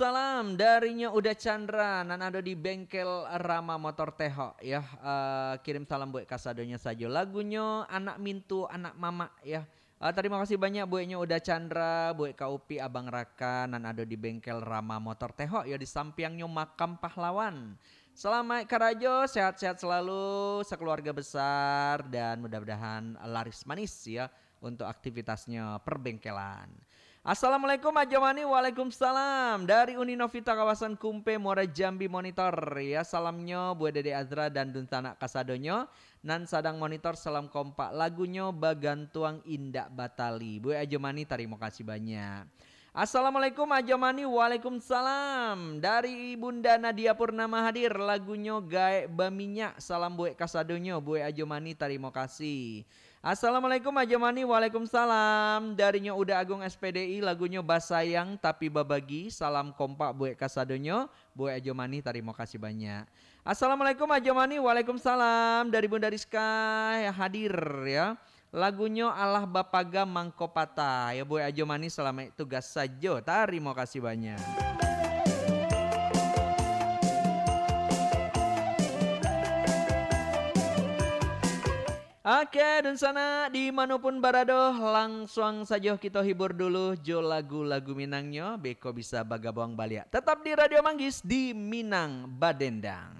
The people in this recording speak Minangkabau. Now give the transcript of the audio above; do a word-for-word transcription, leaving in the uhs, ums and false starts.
Salam darinyo Uda Chandra nan ado di bengkel Rama Motor Tehok, ya. Eh, kirim salam buek kasadonyo sajo. Lagunyo Anak Mintu Anak Mamak, ya. Eh, tarimo kasih banyak bueknyo Uda Chandra, buek Kak Upi, Abang Raka nan ado di bengkel Rama Motor Tehok, ya, di sampiangnyo Makam Pahlawan. Salamaik karajo, sehat-sehat selalu, sakeluarga besar, dan mudah-mudahan laris manis, ya, untuk aktivitasnyo perbengkelan. Assalamualaikum Ajo Mani. Waalaikumsalam. Dari Uni Novita kawasan Kumpe, Muara Jambi, monitor. Ya, salamnyo buek Dede Azra dan dunsanak kasadonyo nan sadang monitor. Salam kompak. Lagunyo Bagantuang Indak Batali. Buek Ajo Mani, tarimo kasih banyak. Assalamualaikum Ajo Mani. Waalaikumsalam. Dari Bunda Nadia Purnama hadir. Lagunyo Gaek Baminyak. Salam buek kasadonyo. Buek Ajo Mani, tarimo kasih. Assalamualaikum Ajo Mani. Waalaikumsalam. Darinyo Uda Agung S P D I, lagunyo Basayang Tapi Babagi. Salam kompak buek kasadonyo. Buek Ajo Mani, tarimo kasih banyak. Assalamualaikum Ajo Mani. Waalaikumsalam. Dari Bunda Rizka hadir, ya. Lagunyo Alah Bapaga Mangko Patah. Ya, buek Ajo Mani, salamaik tugas sajo. Tarimo kasih banyak. Oke, dunsanak, di mano pun barado, langsuang sajo kito hibur dulu jo lagu-lagu Minangnyo, beko bisa bagabuang baliak. Tetap di Radio Manggis, di Minang Badendang.